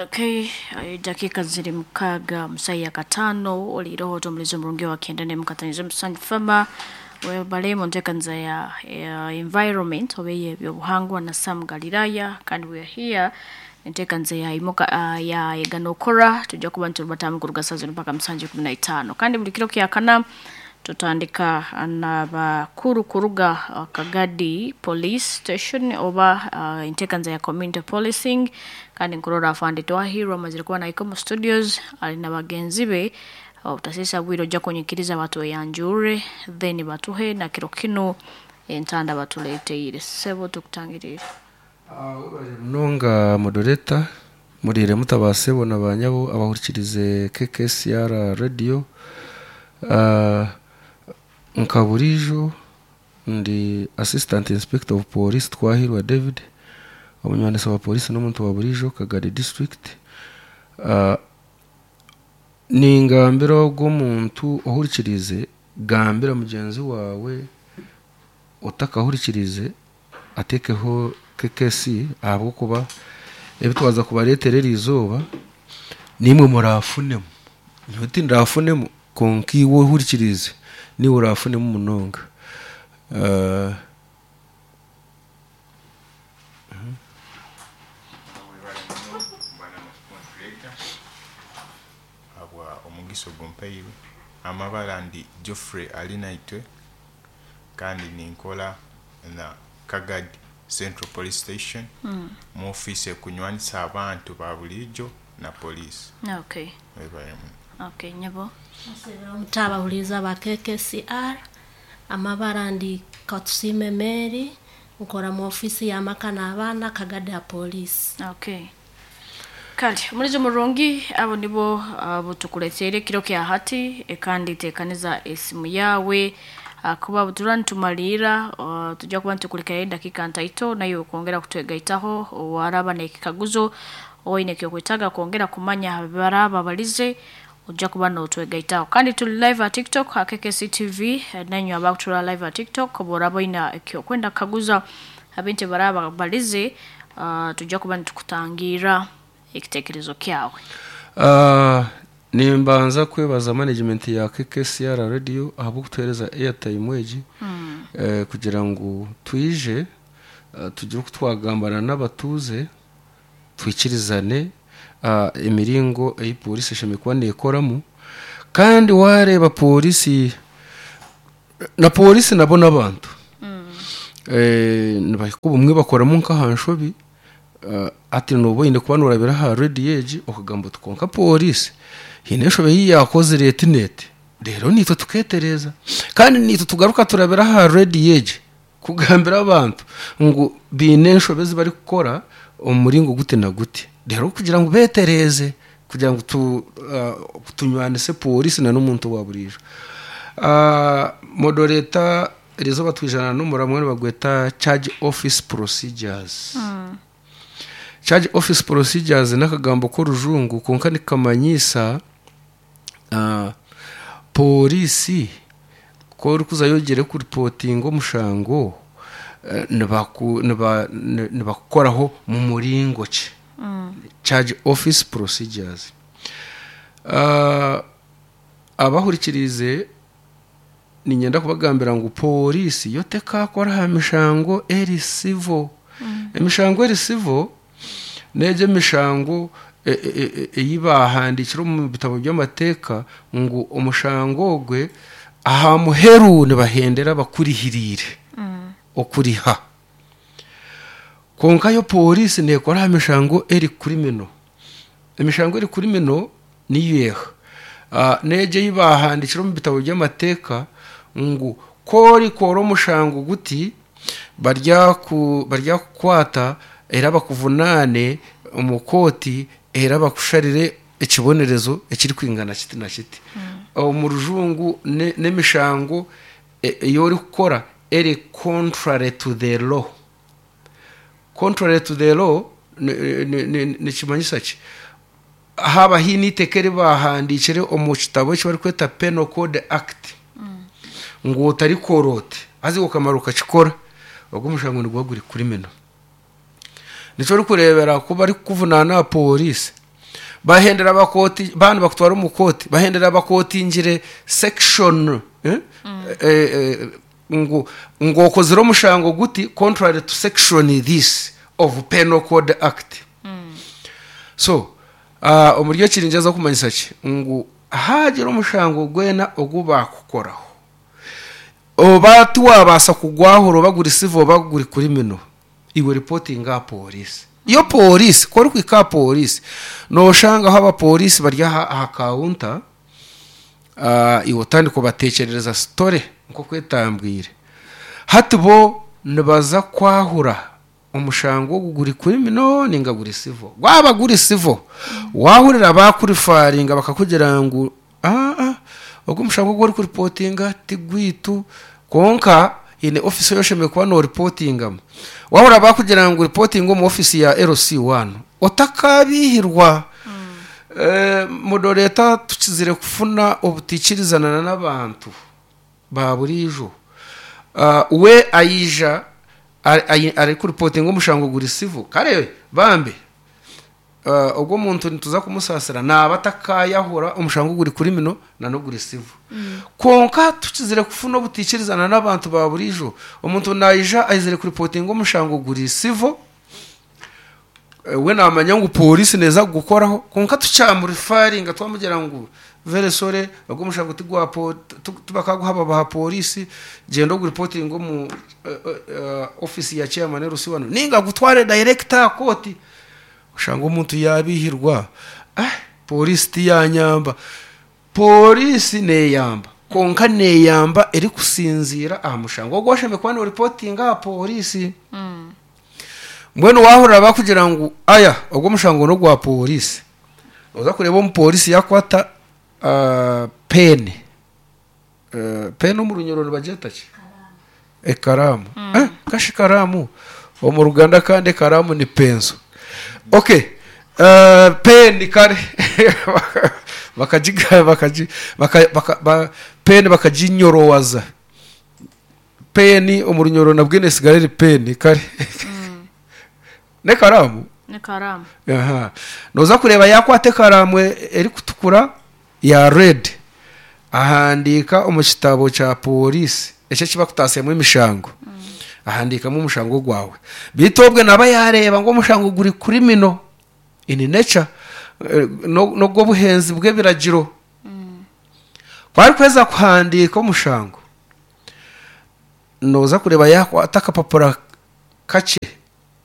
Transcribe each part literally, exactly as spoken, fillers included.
Okay, dakika ziri mukaaga musaya katano oliroho tomulizo murungi wa kenda ne mukatanizo musanju fama webale mu nteekaniza ya, ya environment oba ey'ebyobuhangwa na Sam Galilaya. Kandi we are here enteekaniza ya imuka uh, ya eganokora tujja kuba nitubatamu kuruga saa zino mpaka musanju kumi na itaano. Kandi buli kiro kya kana tutandika n'abakuru kuruga uh, Kagadi Police Station oba uh, enteekaniza ya community policing. Kandi nkurora afande Twahirwa amazire kuba naiko mu studios ali na bagenzi be. Obutasisa bwire ojja kunyikiriza batweyanjure then batuhe na kiro kino entanda batuleteire. Sebo tukutangirire. Munonga moderator, murire mutabasebo na banyabo abahurikirize K K S R Radio. uh, nka burijo ndi Assistant Inspector of Police Twahirwa David, omunywanisa wa polisi n'omuntu wa burijo Kagadi District. uh, ningambira ogw'omuntu ohurikirize, gambira mugenzi wawe otakahurikirize atekeho K K C, ahabwokuba ebi twaza kubareetera eri izooba nimwe murafunemu. Nyowe tindafunemu, konka iwe ohurikirize niwe orafunemu munonga. uh, Webale muno, bwana moderator, habwa omugisa ogumpaire. Amabara ndi Geoffrey Alinaitwe, kandi ninkola na Kagadi Central Police Station mu ofiisi ekunywanisa abantu ba bulijo na poliisi. Okay. Webale muno. Okay, nyabo. Mutabahuriza ba K K C R, amabara ndi Katusime Mary, nkora mu ofisi y'amaka n'abaana, Kagadi ya polisi. Okay. Kale omulizo murungi, abo nibo abo tukuleteire kiro kya hati. e, kandi tekaniza esimu yawe ah, kuba butura nitumalira uh, tujja kuba nitukulekayo edakika ntaito nayo kwongera kutwegaitaho waraba n'ekikaguzo oine ekyokwetaaga kwongera kumanya baraba balize, ojja kuba notwegaitaho. Kandi tuli live at TikTok ha K K C T V. eh, nanywe abakutura live at TikTok, bworaba oina ekyokwenda kukaguza abintu baraba balize, uh, tujja kuba nitukutangira ekitekerezo kyawe. Uh, nimbanza kwebaza management ya K K C R Radio ahabw'okutuheereza airtime egi mm. eh, kugira ngu twije uh, tugire oku twagambana n'abatuuze, twikirizane uh, emiringo ei polisi eshemereire kuba neekoramu. Kandi wareeba polisi na polisi nabo n'abantu eh, nibahika obumwe bakoramu nk'aha nshobi. uh, ati noba oine kuba norabira aha rediyo egi okagamba oti konka polisi hiine enshobe ei yakozire eti neti. Rero nitwe tuketereza kandi nitwe tugaruka turabira aha rediyo egi kugambira abantu ngu biine enshobe ezi barikukora omu muringo guti na guti, rero kugira ngu betereze, kugira ngu tu, uh, tunywanise polisi na n'omuntu wa burijo. uh, moderator eriizooba twijana n'omuramwa nibagweta charge office procedures mm. Charge office procedures n'akagambo k'orujungu, konka nikamanyisa uh, polisi ko orikuzayo ogire kuripotinga omushango, eh, nibaku- niba- ni- nibakukoraho mu muringo ki mm. Charge office procedures. uh, abahurikirize ninyenda kubagambira ngu polisi yo tekakora aha mishango eri civil mm. Emishango eri civil negyo emishango e- e- e- ei bahandikire omu bitabo by'amateeka ngu omushango ogwe aha muheru nibahendera bakurihiriire okuriha. Konka yo polisi nekora aha mishango eri criminal. Emishango eri criminal niyo eha uh, negyo ei bahandikire omu bitabo by'amateeka ngu korikora omushango guti baryaku baryakukwata era bakuvunaane omu kooti era bakusharire ekibonerezo ekiri kwingana kiti na kiti. Omu rujungu ne- n'emishango e- ey'orikukora eri contrary to the law. Contrary to the law ni- ni- ni- nikimanyisa ki? Haba hiine iteeka eri bahandikire omu kitabo eki barikweta Penal Code Act ngu otarikora oti, haza okamara okakikora, ogwo omushango niguba guri criminal. Nikyo orikureebera ku barikukuvunaana aha polisi. Bahendera bakoti bana bakutwara omu kooti, bahendera bakotingire section, eh? mm. eh, eh, ngu ng'okozire omushango guti contrary to section this of Penal Code Act. mm. So uh, omuri ekirinjaza kumanyisa ki ngu hagira omushango gwena ogu bakukoraho, oba tiwabaasa kugwahura, oba guri civil oba guri criminal, iwe reportinga polisi. Iyo polisi kori kwika polisi, noshangaho abapolisi bari aha aha counter, uh, iwe otandika kubatekerereza story nko kwetambwire. Hati bo nibaza kwahura omushango ogu guri criminal ninga guri civil. Gwaba guri civil, wahurira bakurifaringa bakakugira ngu ah ah ogu mushango gwori kuripotinga tigwitu, konka ine office yoshemeye kuba no reportingamu. Wahura bakugira ngu reporting omu office ya L C one, otakabihirwa. mm. eh, moderator, tukizire kufuna obutikirizana n'abantu ba burijo. uh, we ayija ari kuripotinga omushango guri civil, kare bambe uh, ogwo muntu nituza kumusasira naba atakayahura omushango guri criminal na no guri civil. mm. Konka tukizire kufuna obutikirizana n'abantu ba burijo, omuntu nayija ayizire kuripotinga omushango guri civil, we namanya ngu polisi neza gukoraho, konka tucyamurifaringa twamugira ngu very sorry, ogwo mushango tigwa po tubakaguhaba ba polisi, genda oguripotinga mu uh, uh, office ya chairman L C one ninga gutware director court. Usanga omuntu yabihirwa, ah polisi tiyanyamba, polisi neyamba, konka neyamba eri kusinzira aha mushango ogwo washembe kuba no reportinga polisi. mm. Mbwenu wahurira bakugira ngu aya ogwo mushango no gwa polisi, oza kureba omupolisi yakwata uh, pen, uh, pen omu runyoro nibageta ki ekaramu. mm. eh, kashi karamu omu Ruganda, kandi ekaramu ni penso. Okay, uh, pen kare bakajiga bakaji baka, baka, ba, pen bakajinyorowaza pen omu runyoro nabwe nesigarere pen kare. mm. Ne karamu, ne karamu. Aha, noza kureba yakwate karamu eri kutukura ya red, ahandika omu kitabo kya polisi ekyo kibakutasemu emishango. mm. Ahandikamu omushango gwawe, bitobwe naba yareba ngo omushango guri criminal in nature, no no buhenzi bw'ebiragiro. mm. Kwari kweza kuhandika omushango, noza kureba yakwata akapapura kache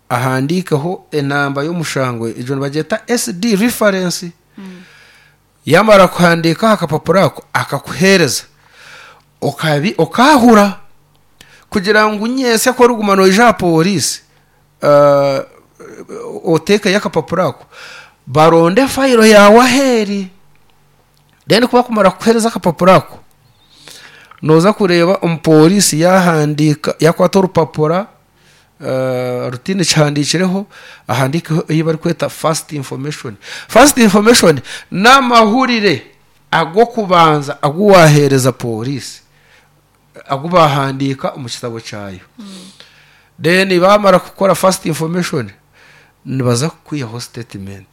ahandikaho enamba y'omushango, ejo nibageta S D reference. mm. Yamara kuhandika akapapura ako akakuhereza, okabi okahura kugira ngu nyese ko rugumano ija polisi, uh, oteka yakapapura ako baronde file yawe aheri. Then kuba kumara kuhereza akapapura ako, noza kureba omupolisi yahandika yakwata orupapura Uh, rutine cyandikireho, ahandikeho iyo bari kweta first information. First information n'amahurire ago kubanza aguwahereza polisi, agubahandika mu kitabo cyayo. mm. Then bamara gukora first information, nibaza kwiyaho statement.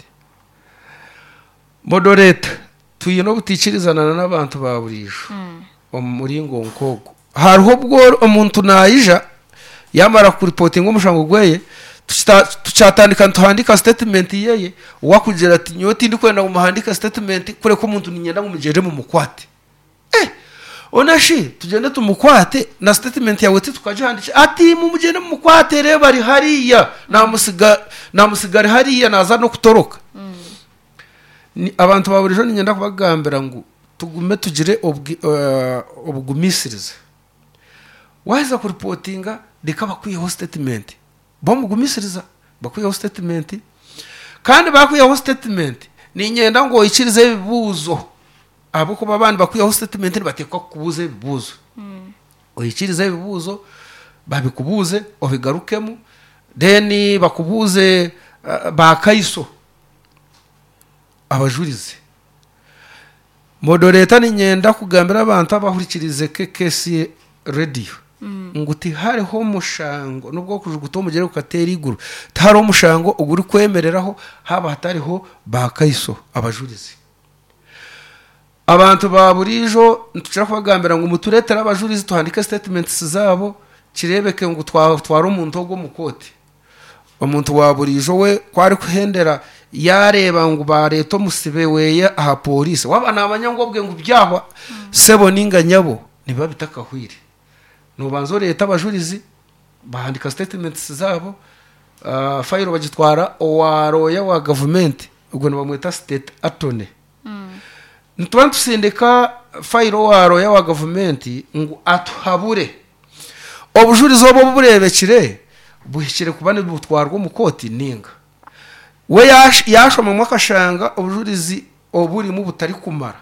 Moderator, tuyino butikirizana n'abantu ba burijo. mm. Omuringo nkogo hariho bwo omuntu nayija yamara kuripotinga omushango gweye, tucyatandika tuhandika statement yeye, wakugira ati nyoti ndi kwenda umuhandika statement kure ko umuntu ninyenda mumugere mu mukwate. Eh onashi tugende tumukwate na statement yawe tukajihandisha, ati mumugende mumukwate reba ari hariya namusiga namusigare hariya naza no kutoroka. mm. Ni abantu baburijo ninyenda kubagambira ngu tugume tugire uh, obugumisiriza. Waza kuripotinga reka bakwiyeho statement, bamugumisiriza bakwiyeho statement, kandi bakwiyeho statement ninyenda ngo ikirize ebibuzo, abo kuba abandi bakwiyeho statement nibatekwa kubuza ebibuzo. mm. Oyikirize ebibuzo babikubuze obigarukemu, then bakubuze uh, bakaiso abajurize. Moderator, ninyenda kugambira abantu abahurikirize K K C radio Ngu tihariho omushango nubwo kujuguta omugere gukatera iguru, tihariho omushango oguri kwemereraho haba hatariho bakaiso abajurizi. Abantu ba burijo nitushobora kubagambira ngu mutureetere abajurizi tuhandike statements zabo, kirebeke ngu twatwara omuntu ogwo omu kooti. Omuntu wa burijo we kwari kuhendera yareba ngu bareta omusibe weye aha polisi, waba namanya ngu obwe ngu byahwa sebo ninga nyabo niba bitakahwire, nobanza oreta abajurizi bahandika statements zabo, uh, fayiro bagitwara owa roya wa government, ubwo nibamweta state attorney. Nituba nitusindika fayiro wa roya wa government ngu atuhabure obujurizi obwo burebekire buhikire kuba nibutwarwa omu kooti ninga we yashomamwo akashanga obujurizi oburimu butari kumara,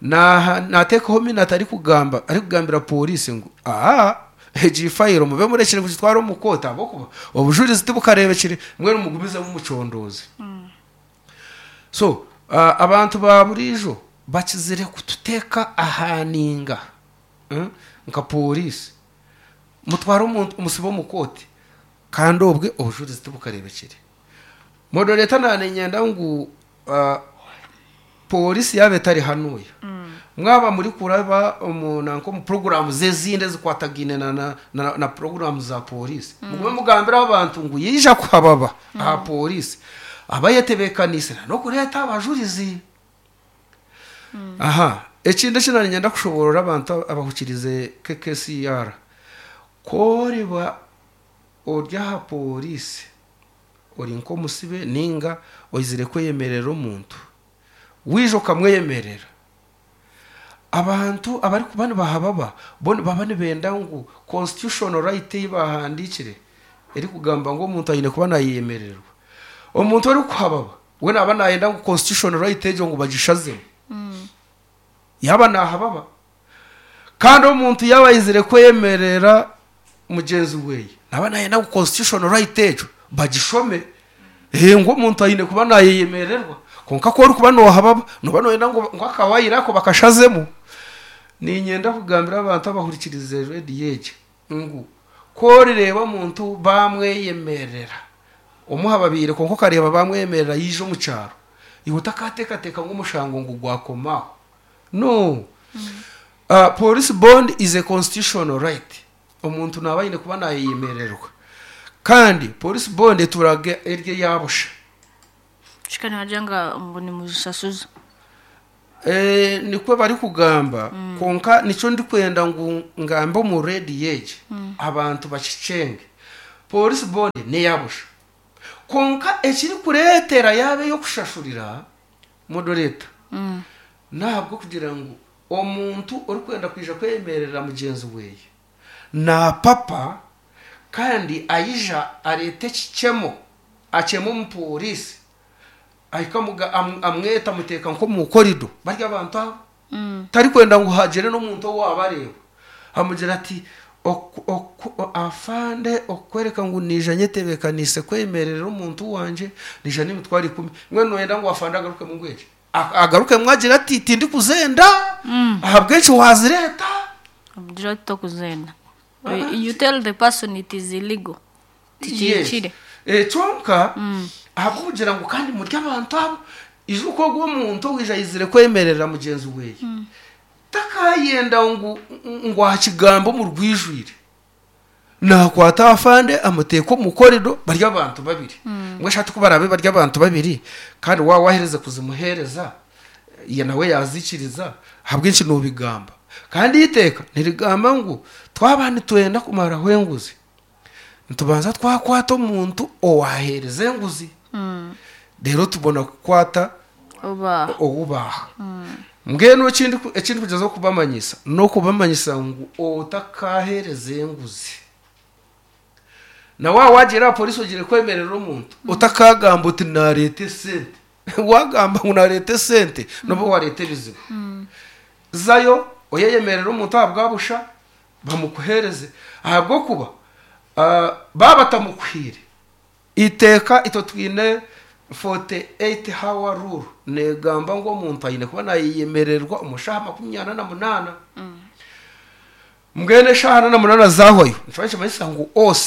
nateekaho mina atari kugamba, ari kugambira polisi ngu aha egi fayiro mube murekire kugitwara omu kooti ahabw'okuba obujurizi tibukarebekire, mbwenu mugumizemu mucondooze. So uh, abantu ba burijo bakizire kututeeka ahaninga mm? nka polisi mutwara omuntu omusibe omu kooti kandi obwe obujurizi tibukarebekire. Moderator nanenyenda ngu uh, polisi yabe etari hanuya, mwaba muri kuraba omu nanko mu program zezinde zikwatagine na, na, na, na program za polisi, mugume mugambira abantu ngu yija kuhababa aha polisi abayetebekanise no kureta abajurizi. Aha ekindi ekinanyenda kushoborora abantu abahukirize K K C R, koriba ori aha polisi ori nk'omusibe ninga oizire kweyemerera omuntu, wije okamweyemerera, abantu abari kuba nibahababa bo baba nibenda ngu constitutional right ei bahandikire eri kugamba ngu omuntu aine kuba nayemererwa. Omuntu ori kuhababa we naba nayenda ngu constitutional right egyo ngu bagishazemu, yaba nahababa. Kandi omuntu yaba ayizire kweyemerera mugenzi weye naba nayenda ngu constitutional right egyo bagishome, eh ngu omuntu aine kuba nayeyemererwa. Konka ko ori kuba nohababa noba noyenda ngu akawayira ako bakashazemu. Ninyenda kugambira abantu abahurikirize radio egi ngu korireba omuntu bamweyemerera omuha babiri, konka okareba bamweyemerera yije omu kyaro, iwe otakateekateeka ngu omushango ngu gwakomaho. No. Uh, police bond is a constitutional right. Omuntu naba aine kuba nayeyemererwa, kandi police bond eturaga erye yabusha. Shikani wajanga ngo ni muzisasuza. Eh nikwe bari kugamba, konka nico ndi kwenda ngu ngambe mu radio egi abantu bakicenge. Police bond ne yabusha, konka ekiri kuretera yabe yo kushashurira moderator, ntabwo kugira ngu omuntu ori kwenda kwija kwemerera mugenzi weye na papa kandi ayija arete kikemo akemo omu polisi ahikamuga amweta muteka nko mu korido barya abantu abo tari kwenda ngu hagere n'omuntu owabareba, amugira ati afande okwereka ngu nija nyetebekanise kwemerera omuntu wanje nija n'imitwaro ikumi, mwe noyenda ngu afande agaruke mu ngwere agaruke mwagira ati tindi kuzenda ahabwenshi wazireta amugira ati tokuzenda. You tell the person it is illegal. Tichire. Eh chonka ahakugira ngo kandi murya abantu abo izuko gwo muntu wija yizire kwemerera mugenzi weye, takayenda ngu ngo akigambo mu rwijwire nakwata afande amuteko mu korido barya abantu babiri, ngo ashati kubarabe barya abantu babiri, kandi wa wahereze kuzimuhereza ye nawe yazikiriza habwinshi nubigamba. Kandi iteka nirigamba ngu twabani twenda kumara hwenguzi ntubanza twakwata omuntu owahereze enguzi, rero tubona kukwata oba obubaha. Mbwenu ekindi ekindi kugeza kubamanyisa no kubamanyisa ngu otakahereze enguzi na wa wagira polisi ogire kwemerera omuntu otakagamba uti narete sente wagamba ngu narete sente nobo warete bizibu zayo oyeyemerera omuntu ahabwabusha bamukuhereze ahabwokuba uh, baba batamukwire. Iteka ito twine forty-eight hour rule negamba ngo omuntu aine kuba nayemererwa umushaha makumyana na munana. Mbwenu eshaaha ana na munaana zahwayo nikiba nikimanyisa ngu O C